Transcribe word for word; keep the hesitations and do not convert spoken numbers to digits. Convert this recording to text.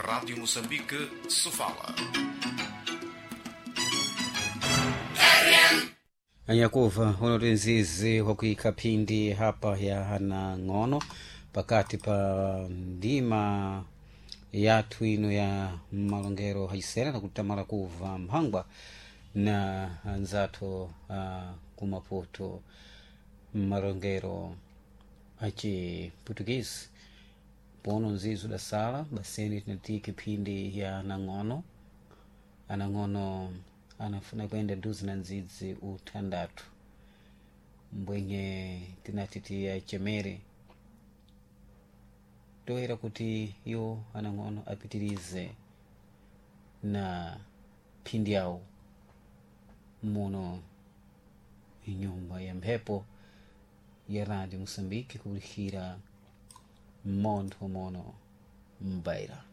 Rádio Moçambique, Sofala. Anyakuva unoti nzizi wakuika phindi hapa ya anang'ono pakati pa ndima yathu ino ya malongero haisera na kutamala kuva mphangwa na anzathu uh, kumaputo malongero achiputukisi pono nzizi udasala baseni tinatiki phindi ya anang'ono anang'ono anafuna kuenda duzi na nzidzi uthandatu mbwenye tinati tiyachemere toera kuti iwo anang'ono apitirize na phindi yawo muno nyumba ya mphepo ya radio moçambique kulikhira mmontho mono mbaira.